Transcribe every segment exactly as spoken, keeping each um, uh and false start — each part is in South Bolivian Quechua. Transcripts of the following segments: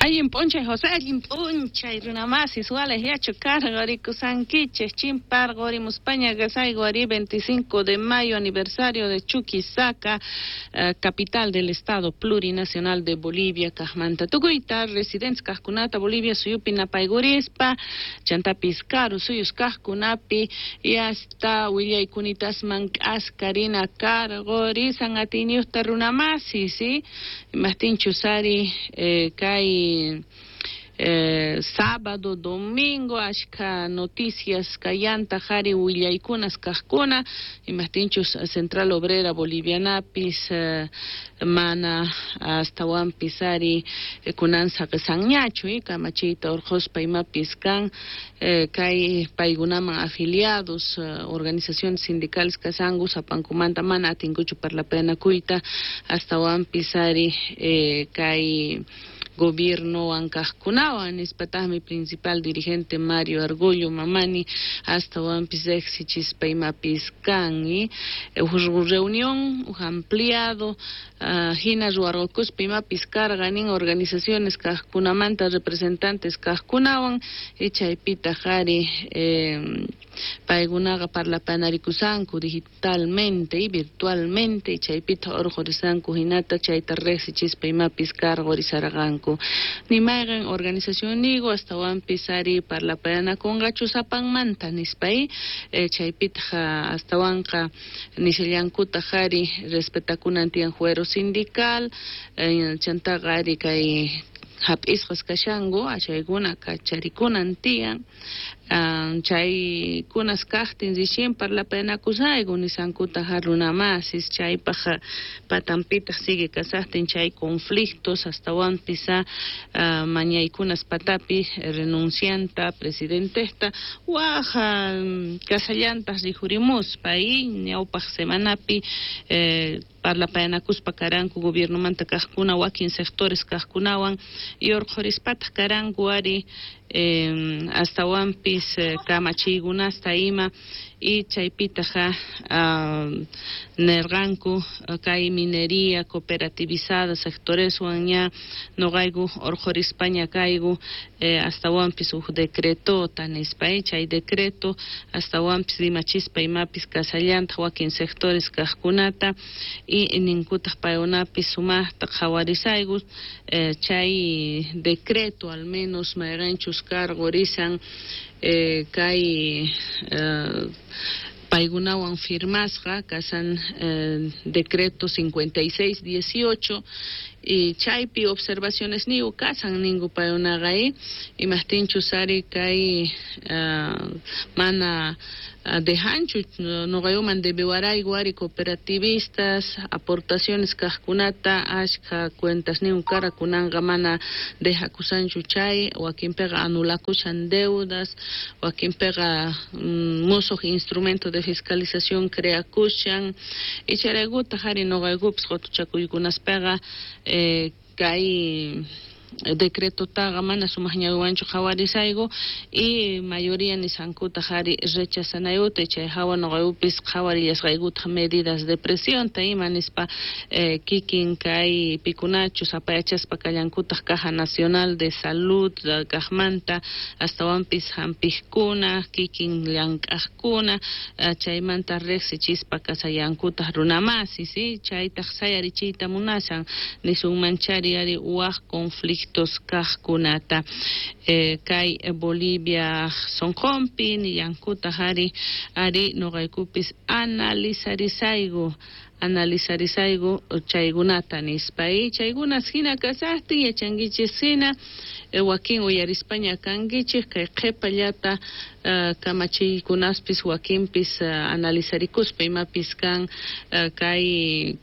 Allin p'unchay, José. Allin p'unchay, runamasis, walej yachu karqorikusankichej, chimparqorimuspaña kasayku ari veinticinco de mayo, aniversario de Chuquisaca, eh, capital del Estado Plurinacional de Bolivia, kajmanta tukuyta, residentes kajkunata, Bolivia suyupi napaygurispa, chantapis karu suyus kajkunapi, y hasta willaykunatasman k'askarina karqorisan atiyniyuqta runamasis, ¿sí? Imajtinchus ari eh, kay Eh, sábado, domingo, ashka noticias kallanta jari willaykunas kajkuna, imajtinchus Central Obrera Bolivianapis eh, mana astawanpis ari eh, kunan saqesanñachu, eh, kamachiyta urqhuspa imapis kan eh, kay paykunaman afiliados eh, organizaciones sindicales kasanku sapankumanta mana atinkuchu parlapayanakuyta astawanpis ari eh, kay gobierno kajkunawan nispataqmi principal dirigente Mario Argollo Mamani astawanpis riqsichispa imapis kan y uj reunión uj ampliado uh, hina ruwarqakuspa imapis karqa nin organizaciones kajkunamanta representantes kajkunawan y chaypitaq ari eh, paykunaqa parlapanarikusanku digitalmente y virtualmente y chaypitaq urqhurisanku hinata chayta riqsichispa imapis karqurisarqanku ni mayqan organización nigo astawanpis ari parlapayanakunqachu sapanmanta nispa y eh, chaypitaq astawanqa nishallankutaq ari respetakunan tiyan fuero sindical eh, chantaqa ari kay hap'isqas kashanku achaykuna kacharikunan tiyan um, chaykunas kaqtin recién parlapayanakusayku nisankutaq runamasis chaypaq patanpitaq sigue kasaqtin chay conflictos astawanpis uh, mañaykunas patapi renuncianta presidentesta waj um, kasallantaq rikhurimuspa y ñawpaq semanapi eh, parlapayanakuspa karanku gobiernomanta kaqkuna wakin sectores kaqkunawan y urqhurispataq karanku ari eh, astawanpis eh, kamachiykunasta ima y chaypitaq uh, nerqanku kay minería cooperativizada sectoreswan ña noqayku urqhurispaña kayku eh, astawanpis uj decretota nispa eh, chay decreto astawanpis rimachispa imapis kasallantaq wakin sectores kaqkunata y ninkutaq paykunapis sumaqta qhawarisayku eh, chay decreto al menos mayqanchus karqurisan eh, kay eh, paykunawan firmasqa kasan eh, decreto cincuenta y seis dieciocho y chaypi observaciones nigu kasan ninku paykunaqa eh, imajtinchus ari kay uh, mana uh, dejanchu noqayuman debiwarayku ari cooperativistas aportaciones kaqkunata ashka cuentas nigu kara kunanqa mana dejakusanchu chay wakinpiqa anulakushan deudas wakinpiqa mm, musuq instrumento de fiscalización creakushan y chayraykutaq ari noqaykupis qutuchakuykunaspaqa eh, kay decretotaqa mana sumaq ñawiwanchu qhawarisayku y mayoría nisankutaq ari rechazanayuta chay hawa noqaykupis qhawarillasqaykutaq medidas de presionta ima nispa eh, kikin kay pikunachus apayachaspa kallankutaq Caja Nacional de Salud kaqmanta astawanpis hampiqkuna kikin llank'aqkuna uh, chaymanta riqsichispa kasallankutaq runamasis ¿sí? Chaytaq sayarichiyta munashan nisunmanchari ari waj conflicto kaqkunata eh, kay Bolivia sonqonpi nillankutaq ari ari noqaykupis analizarisayku analizarisayku chaykunata nispa y chaykunas hina kasaqtin yachankichis hina eh, wakin uyarispaña kankichik kay qhipallata uh, kamachiykunaspis wakinpis uh, analizarikuspa imapis kan uh, kay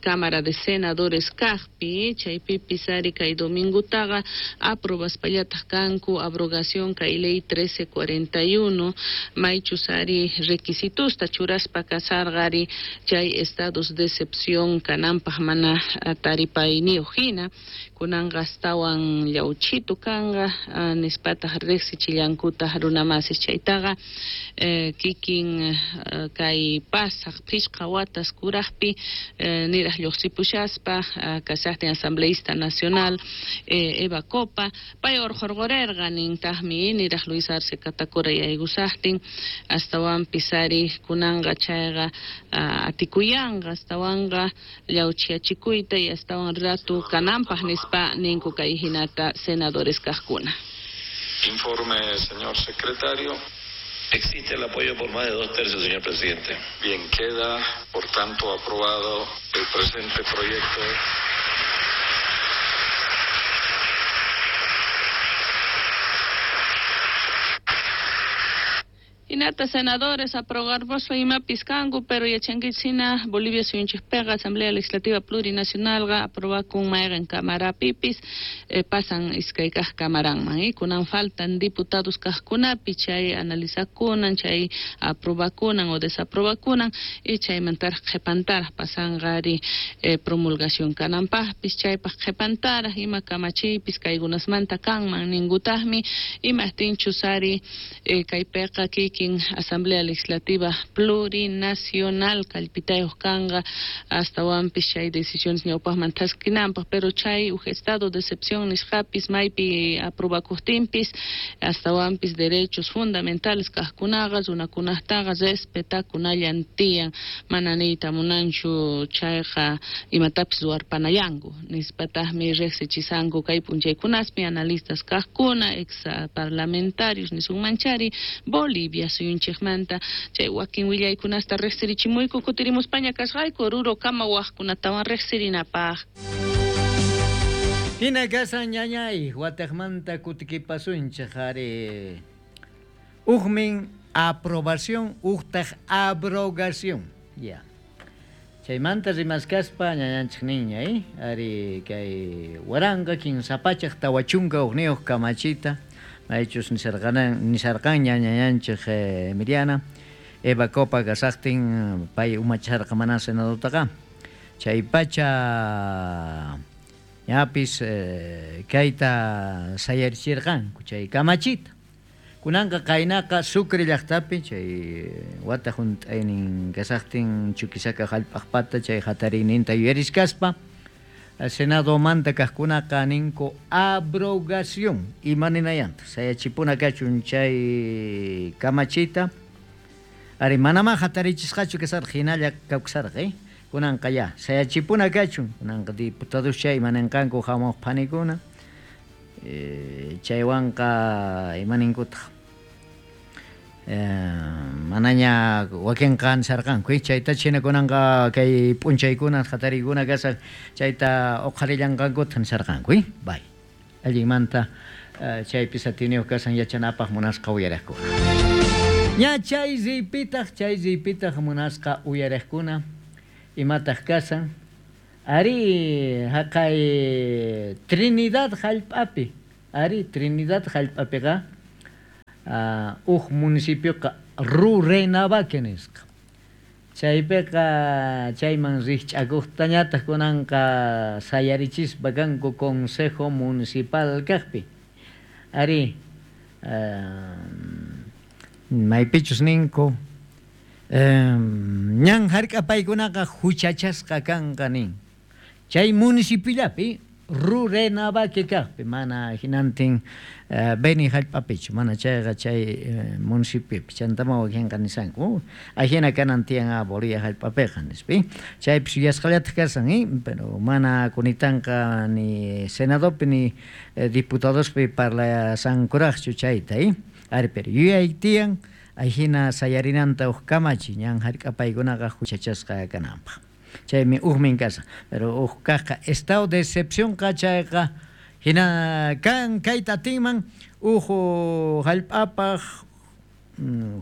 Cámara de Senadores kaqpi chaypipis ari kay domingutaqa aprobaspallataq kanku abrogación kay ley trece cuarenta y uno maychus ari requisitosta churaspa kasarqa ari chay estados de excepción kananpaq mana taripayniyuq hina Kunanqa astawan llawchitu kanqa nispataq riqsichillankutaq runamasis chaytaqa kikin kay pasaq phishqa watas kuraqpi niraq lluqsipushaspa kashaqtin asambleísta nacional Eva Copa pay urqurqurerqa nintaqmi niraq Luis Arce Catacora yaykusaqtin astawanpis ari kunanqa chayqa atikuyanqa astawanqa llawchiyachikuyta y astawan ratu kananpaq nispa ninku kay hinata senadores kaqkuna. Informe, señor secretario. Existe el apoyo por más de dos tercios, señor presidente. Bien, queda, por tanto, aprobado el presente proyecto. Hinata senadores aprobarboso imapis kanku, pero yachankichina Bolivia suyunchikpiqa Asamblea Legislativa Plurinacionalqa aprobakun mayqin kamarapipis eh, pasan iskay kaq kamaranman eh, kunan faltan diputados kaqkunapi chay analizakunan chay aprobakunan o desaprobakunan y chaymantaraq qhipantaraq pasanqa ari eh, promulgación kananpaqpis chaypaq qhipantaraq ima kamachiypis kaykunasmanta kanman ninkutaqmi imaqtinchus ari eh, kaypiqa kikin Asamblea Legislativa Plurinacional kallpitayuq kanqa astawanpis chay decisiones ñawpaqman thaskinanpaq, pero chay uj estado de excepción nisqapis maypi aprobakuqtinpis astawanpis derechos fundamentales kaqkunaqa runakunaqtaqa respetakunallan tiyan mana niyta munanchu chayqa imatapis ruwarpanayanku nispataqmi riqsichisanku kay p'unchaykunaspi analistas kaqkuna ex parlamentarios nisunmanchari Bolivia suyunchikmanta chay wakin willaykunasta riqsirichimuyku kutirimuspaña kasqayku Oruro kama waqkunatawan riqsirinapaq. Hina kasan ñañay wataqmanta kutikipasunchik ari ujmin aprobación ujtaq abrogación ya chaymanta rimaskaspa ñañanchik niña eh ari kay waranqa kinsa pachaq tawa chunka hukniyuq kamachita maychus nisarqanan nisarqanña ñañanchik Emiliana Eva Copa kasaqtin pay umacharqa mana senadotaqa chay pacha ñapis eh, kayta sayarichirqanku chay kamachita kunanqa qaynaqa Sucre llaqtapi chay wata hunt'aynin kasaqtin Chuquisaca hallp'aqpata chay hatariyninta yuyariskaspa Senado manta kaqkunaqa ninku abrogación imaninayanta sayachipuna kachun chay kamachita ari manama hatarichisqachu kasarqa hinalla kawsarqa eh kunanqa ya sayachipuna kachun kunanqa diputados chay imaninqanku hamuq phanikuna eh, chaywanqa imaninkutaq Eh, manaña wakinqa nisarqanku chayta china kunanqa kay p'unchaykuna hatariykuna kasaq chayta uqharillanqankuta nisarqanku bay allinmanta uh, chaypis atiniyuq kasan yachanapaq munasqa uyariqkuna ña chay riypitaq chay riypitaq munasqa uyariqkuna imataq kasan ari haqay Trinidad hallp'api ari Trinidad hallp'apiqa Uh, uj municipioqa Rurrenabaque nisqa chaypiqa chayman riqch'akuqtañataq kunanqa sayarichispa kanku consejo municipal kaqpi ari uh, maypichus ninku um, ñan hark'apaykunaqa huchachasqa kanqa nin chay municipiollapi Rurrenabaque kaqpi mana hinantin uh, Beni hallp'apichu mana chayqa chay uh, municipiopi chantama wakinqa nisanku ajina kanan tiyan a Bolivia hallp'apiqa nispi chaypis yuyasqallataq kasan eh? Pero mana kunitanqa ni senadopi ni eh, diputadospi parlasankuraqchu chayta eh? Ari pero yuyay tiyan ajina sayarinanta uj kamachi ñan hark'apaykunaqa huchachasqa kananpaq chaymi ujmin kasa pero uj kaqqa estado de excepción qa chayqa hina kan kayta atinman uj hallp'apaq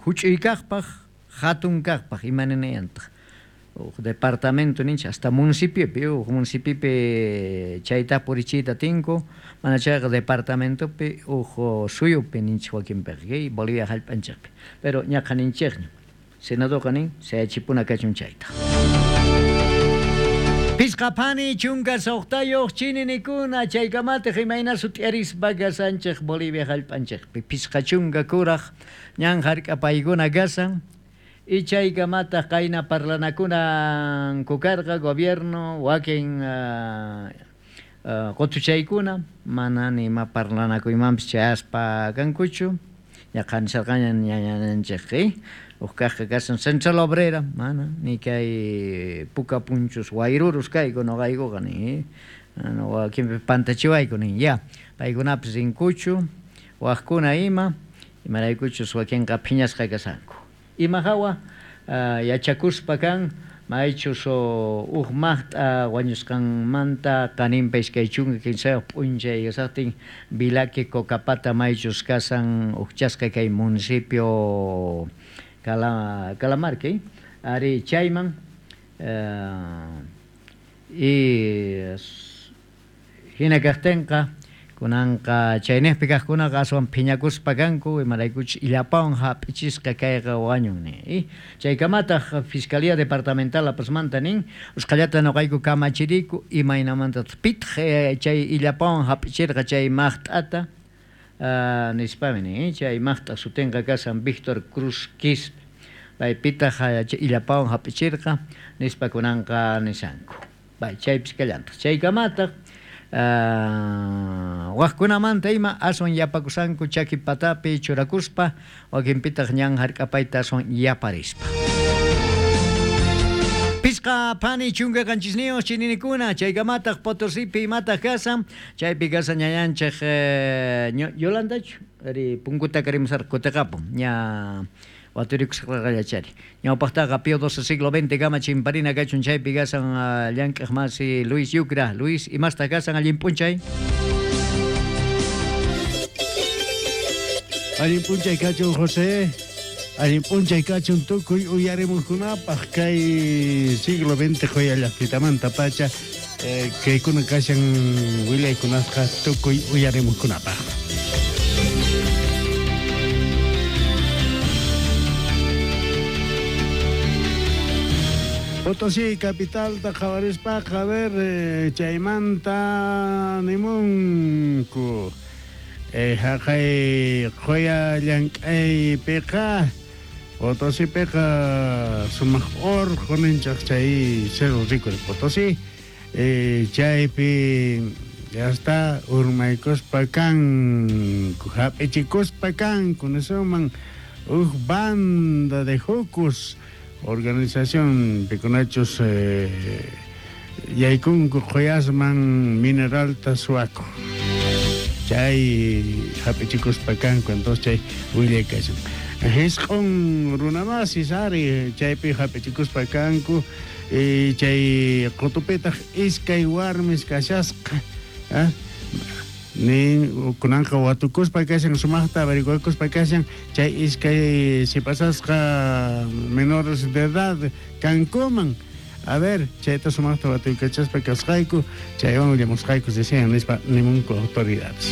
huch'uy kaqpaq hatun kaqpaq imaninayantaq uj departamento ninchik hasta municipiopi uj municipiopi chayta purichiyta atinku mana chayqa departamentopi uj suyupi ninchik wakinpiqa Bolivia hallp'anchikpi pero ñaqa ninchikña senadoqa nin sayachipuna kachun chayta. Pisqapani chunka suqtayuq chininikuna chaykamataq imayna sut'iarispa kasanchik Bolivia hallp'anchikpi pisqa chunka kuraq ñan hark'apaykuna kasan y chaykamataq qayna parlanakunanku karqa gobierno wakin uh, uh, qutuchaykuna mana nima parlanakuymanpis chayaspa kankuchu ñaqanisarqaña ñañanchik uqkaqqa kasan Central Obrera mana ni kay puka punchus wayrurus kayku noqaykuqa ni wakinpi pantachiwayku nin ya paykunapis rinkuchu waqkuna ima imaraykuchus wakinqa phiñasqa kasanku ima hawa uh, yachakuspa kan maychus uj maqt'a wañusqanmanta qaninpa iskay chunka kinsayuq p'unchay kasaqtin Vilaqui Cocapata maychus kasan uqchasqa kay municipio Cala, Calamarque, ari chayman uh, y hina kaqtinqa kunanqa chaynejpi kaqkunaqa aswan phiñakuspa kanku imaraykuchus illapawan hap'ichisqa kayqa wañun ni chaykamataq Fiscalía Departamental La Pazmanta nin usqhallata noqayku kamachiriku imaynamantataq pitaq chay illapawan hap'ichirqa chay maqt'ata Uh, nispami ni chay maqt'a sutinqa kasan Víctor Cruz Quispe paypitaq illapawan hap'ichirqa nispa kunanqa nisanku bay chaypis kallantaq chaykamataq uh, waqkunamanta ima aswan yapakusanku chaki patapi churakuspa wakinpitaq ñan hark'apayta aswan yaparispa. Pisqa pani chunka qanchisniyuq chininikuna chaykamataq Potosipi imataq kasan chaypi kasan ñañanchik eh, Yolandachu ari punkuta karimusarqa kutiqapun ña waturikusqaqallachari ñawpaqtaqa Pío doce siglo veinte kama chimparina kachun chaypi kasan uh, llank'aq masi Luis Yucra. Luis, imastaq kasan allin p'unchay? Allin p'unchay kachun José. Allin p'unchay kachun tukuy uyarimuqkunapaq kay siglo veinte qoyallaqpitamanta pacha eh, kaykuna kashan willaykunasqa tukuy uyarimuqkunapaq. Potosí capital qhawarispaqa a ver eh, chaymanta nimunku eh, haqay qoya llank'aypiqa Potosípiqa sumaq urqu ninchaq chay Cerro Rico de Potosí eh, chaypi ya está urmaykuspa kanku hap'ichikuspa kanku nisuman uj banda de jucus organización pikunachus eh, yaykunku qoyasman mineralta suaku chay hap'ichikuspa kanku entonces chay willay kashan Hisq'un runamasis ari chaypi hap'ichikuspa kanku y chay qutupitaq iskay warmis kashasqa ah nin kunanqa watukuspa kashan sumaqta averiguakuspa kashan chay iskay sipasasqa menores de edad kankuman a ver chayta sumaqta watuykachaspa kasqayku chaywan willamusqayku decían nispa nimunku autoridades.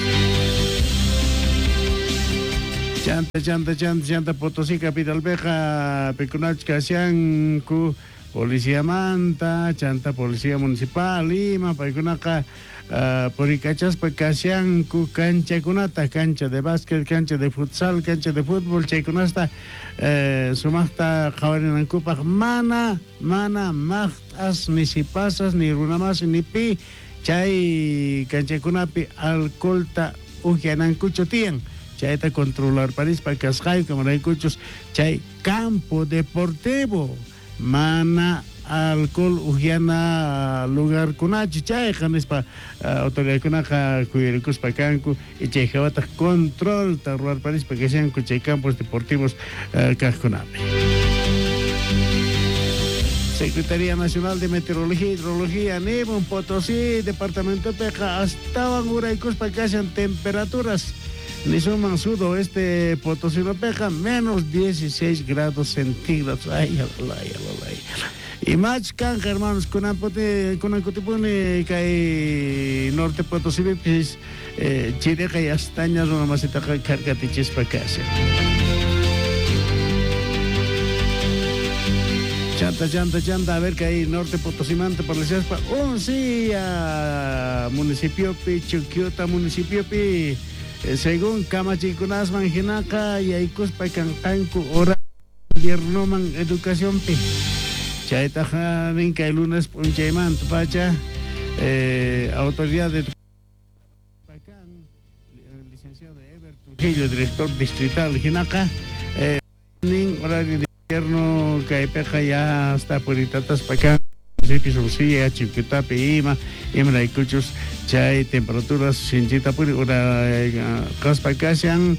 Chanta, chanta, chanta, chanta, Potosí capitalpeqa pikunachus kashanku policía manta, chanta policía municipal, Lima, paykunaqa uh, purikachaspa kashanku kanchakunata, cancha de básquet, cancha de futsal, cancha de fútbol, chaykunasta eh, sumaqta qhawarinankupaq mana, mana maqt'as, ni sipasas, ni runamasi, ni pi, chay kanchakunapi alcoholta uqyanankuchu tiyan. Chayta controlar parispa kasqayku kamaraykuchus chay campo deportivo mana alcohol uhyana lugarkunachu chayqa nispa uh, autoridadkunaqa kuyurikuspa kanku y chay hawataq controlta ruwarparispa kashanku chay campos deportivos uh, kaqkunapi. Secretaría Nacional de Meteorología e Hidrología nimun Potosí departamentopiqa astawan uraykuspa kashan temperaturas nisuman sudoeste Potosinopeja menos dieciséis grados centígrados. Ay, ay, ay, ay. Y más canja, hermanos, kunankutipuni kay norte Potosipipis eh, chireqa y astaña runamasitaqa karkatichispa kashan. Chanta, chanta, chanta, a ver que hay Norte Potosimanta por la Uncía, municipio pi, Chuquiota, municipio pi, según kamachikunasman hinaqa yaykuspa kanqanku hora inviernoman educación pi. Chaytaqa nin kay lunes p'unchaymanta pacha eh, autoridad de licenciado Eber Trujillo, director distrital hinaqa eh, nin horario de invierno kaypiqa ya hasta puritataspa kan municipios Uncía, Chiquitapi ima imaraykuchus chay temperaturas sinchita puri ura qaspa kashan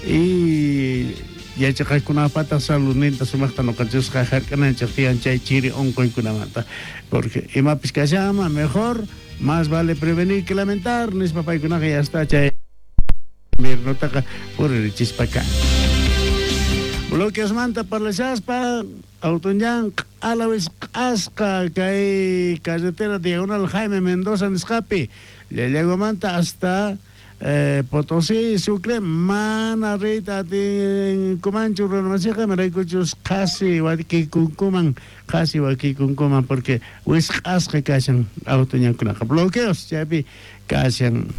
y yachaqaykunapata saludninta sumaqta nuqanchisqa hark'ananchik tiyan chay chiri unquykunamanta porque imapis kashama mejor más vale prevenir que lamentar nispa paykunaqa ya está chay inviernotaqa puririchispa kan. Bloqueosmanta parlashaspa Autoñan q'alawis q'asqa kay carretera diagonal Jaime Mendoza nisqapi Llallaguamanta hasta eh, Potosí, Sucre, mana riyta atinkumanchu runamasiqa imaraykuchus qhasi wakikunkuman qhasi wakikunkuman porque wisq'asqa kashan autoñankunaqa bloqueos chaypi kashan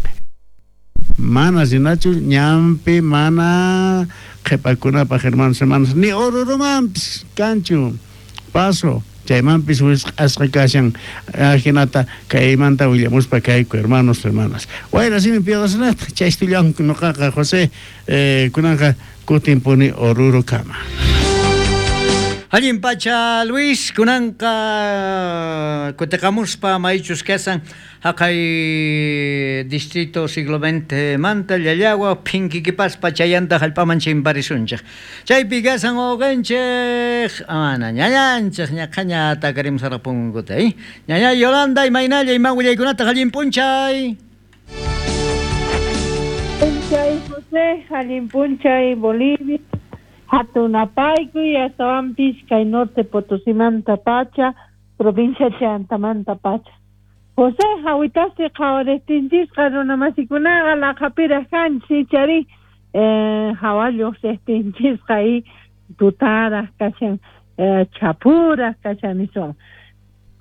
mana rinachu ñanpi mana qhipakunapaq hermanos hermanas ni Orurumanpis kanchu paso chaymanpis wisq'asqa kashan ajinata kaymanta willamuspa kayku hermanos hermanas wayra simi piyawasunata chaystullanku nuqaqa José eh, kunanqa kutinpuni Orurukama. Allin pacha Luis, kunanqa kutiqamuspa maychus kasan haqay distrito siglo veinte manta Llallagua phinkikipaspa chayanta hallp'aman chimparisunchik. Chaypi kasan wawqinchik amana ñañanchik ñaqhaña takarimusaraq punkuta eh? Ñaña Yolanda imaynalla ima willaykunata allin p'unchay. P'unchay José, allin p'unchay Bolivia. Hatunapaykuy astawanpis kay Norte Potosimanta pacha, provincia Chantamanta pacha. José, hawitasti qhawaristinchikqa runamasikunaqa laqhapiraq kanchik chari eh, hawa lluqsiqtinchisqa y tutaraq kashan eh, chapuraq kashan niswan.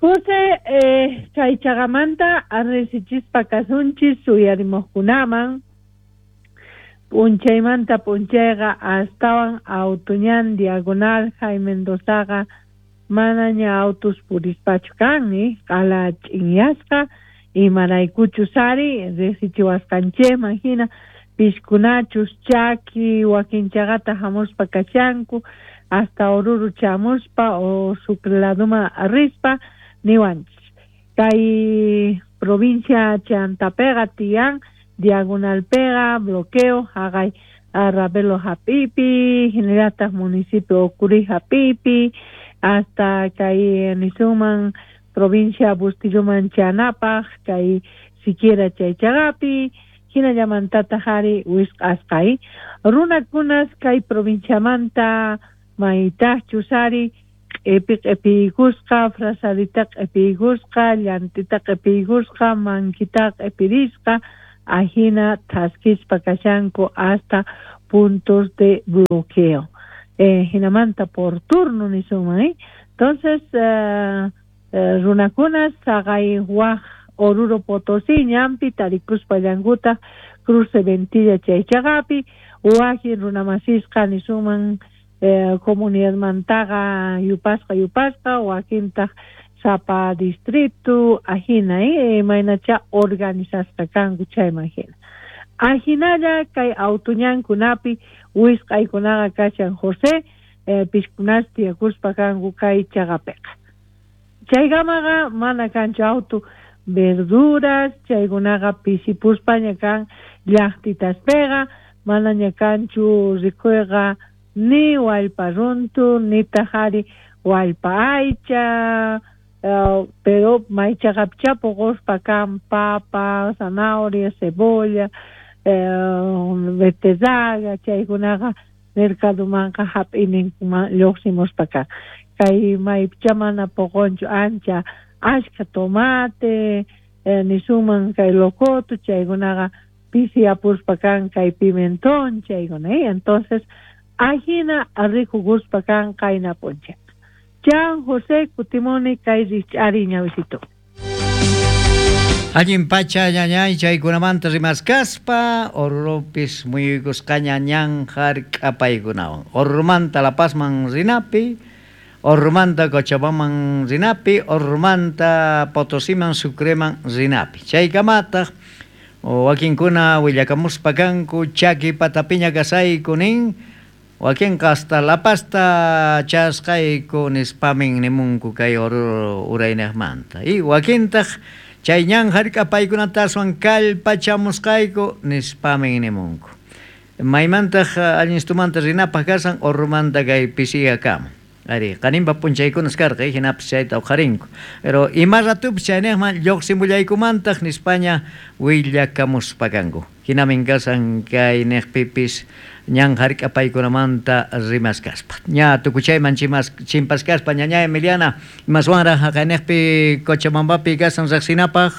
José, eh, kay chaqamanta risichispa kasunchis suyarimuqkunaman p'unchaymanta p'unchayqa astawan Autoñan diagonal Jaime Mendozaqa manaña autos purispachu kan q'ala ch'inyasqa imaraykuchus ari riqsichiwasqanchikman hina piskunachus chaki wakinchaqata hamuspa kashanku hasta Oruro chamuspa o Sucre laduman rispa niwanchis kay provincia Chantapiqa tiyan diagonalpiqa bloqueo haqay Ravelo hap'ipi hinallataq municipio Ocurí hap'ipi hasta kay nisunman provincia Bustilloman chanapaq kay siquiera chay chaqapi hinallamantataq ari wisq'asqa runakunas kay provinciamanta maytaqchus ari q'ipi q'ipiykusqa frazadita q'ipiykusqa llantita q'ipiykusqa mankita q'ipirisqa ajina thaskispa kashanku hasta puntos de bloqueo. Eh, hinamanta por turno nisunman, ¿eh? Entonces, eh, eh, runakunas saqay waj Oruro Potosí ñanpi tarikuspa llankuta cruce Ventilla chay chaqapi wakin runamasisqa nisunman eh, comunidadmantaqa yupasqa yupasqa wakintaq sapa distrito ajina eh, imaynacha organizasqa kanku chayman hina. Ajinalla kay autoñankunapi wisq'aykunaqa kashan José eh, piskunas tiyakuspa kanku kay chaqapiqa. Chaykamaqa mana kanchu auto verduras chaykunaqa pisipuspaña kan llaqtitaspiqa manaña kanchu rikuyqa ni wallpa runtu nitaq ari wallpa aycha Uh, pero maychaqapicha puquspa kan papa, zanahoria, cebolla, eh, beterraga, chaykunaqa mercadomanqa hap'ininkuman lluqsimuspa kan. Kay maypicha mana puqunchu ancha ashka tomate, eh, nisuman kay locoto, chaykunaqa pisiyapuspa kan kay pimentón, chaykuna, eh? Entonces, ajina rikukuspa kan qayna p'unchay. Chan José kutimuni kay rikch'ari ñawisito. Allin pacha ñañay chaykunamanta rimaskaspa Orurupis muyuykusqaña ñan hark'apaykunawan Orurumanta La Pazman rinapi, Orurumanta Cochabambaman rinapi, Orurumanta Potosiman Sucreman rinapi. Chaykamataq wakinkuna willakamuspa kanku chaki patapiña kasayku nin, wakinqa hasta La Pazta chasqayku nispamin nimunku kay Oruro uraynejmanta. Y wakintaq chay ñan hark'apaykunata aswan kallpachamusqayku nispamin nimunku. Maymantaq allinstumanta rinapaq kasan Orurumanta kay pisiyakama. Ari, qaninpa p'unchaykunas karqa, hinapis chayta uqharinku. Pero ima ratupis chaynejman lluqsimullaykumantaq nispaña willakamuspa kanku. Hinamin kasan kay neqpipis ñan hark'apaykunamanta rimaskaspa. Ña tukuchayman chimas chimpaskaspa ñaña Emiliana, imaswanraq haqayneqpi Cochabambapi kasan riqsinapaq.